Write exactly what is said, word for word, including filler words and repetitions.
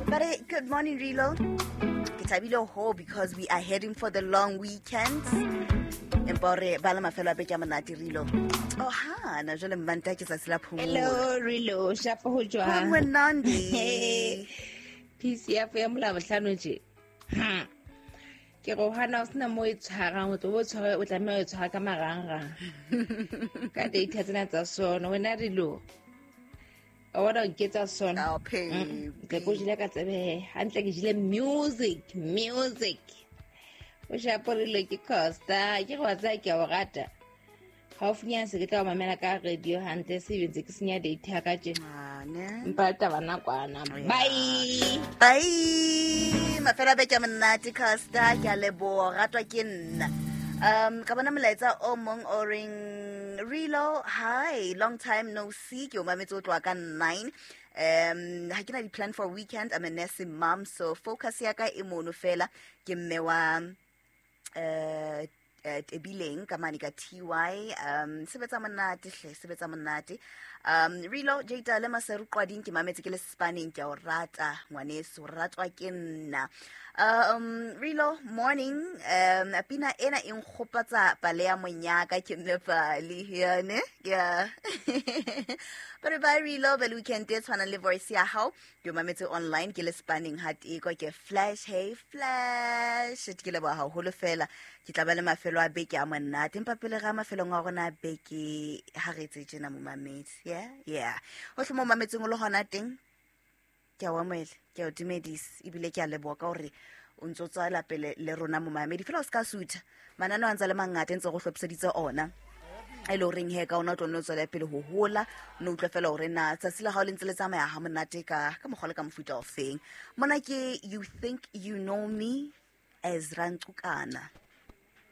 But hey, good morning, Rilo. Ke thabile ho because we are heading for the long weekend. Empa hore ba le mafelo a beke a monate, Rilo. Oh ha, na jwale Mmanta ke tsatsi la phomolo. Hello, Rilo. Shapo ho jwang? Monandi. P C ya ya molabohlano tje. Hmm. Ke re o hana o sena mo e tshwarang, o tlo bo tshware, o tlameha ho e tshwara ka marangrang. Ka data tsena tsa sono, wena Rilo. O bona o nketsa sona. Oh, Mm, Ke ko jele ka tsebe hantle, ke jele music, music. O shapo Rilo, ke Costa, ke re wa tseba ke a o rata. Haufinyana se ke tla o mamela ka radio hantle, se ntse ke senya data ya ka tje. Ah, ne? Empa taba nakwana. Bye. Bye. Mafelo a beke a monate, Costa. Ke a leboha, ratwa ke nna. Um ka bona molaetsa o mong o reng, "Rilo, hi, long time no see. Ke o mametse o tloha ka nine. Um ha ke na di-plan for weekend. I'm a nursing mom, so focus ya ka e mono fela. Ke mme wa eh eh, Tebileng ka mane ka T Y. um sebetsa monate hle, sebetsa monate. um Rilo Jada le Maseru Qwading, ke mametse ke le Spanning. Ke a o rata ngwaneso, ratwa ke nna. um Rilo, morning. um pina ena e nkgopotsa pale ya monyaka, ke mme pale yane yeah. But bye Rilo, be le weekend e tshwanang le voice ya hao. Ke o mametse online ke le Spanning ha teko ke Flash. Hey Flash, ke leboha haholo fela. Ke tla ba le mafelo a beke a monate, empa pele ga mafelong a rona a beke, ha re etse tjena, momamedi. yeah yeah hohle mo mametseng o le hona teng, ke a o amohela, ke a o dumedisa, ebile ke a leboha ka hore o ntso tswela pele le rona, momamedi. Fela o se ka sutha, mananeo a ntse a le mangata, ntse go hlophiseditse ona e le horeng he ka ona o tlo nne o tswele pele ho hola, o ne utlwe fela hore na tsatsi la hao le ntse le tsamaya ha monate ka ka mokgwa le ka mofuta o feng. Mona ke "You Think You Know Me", Ezra Ncukana.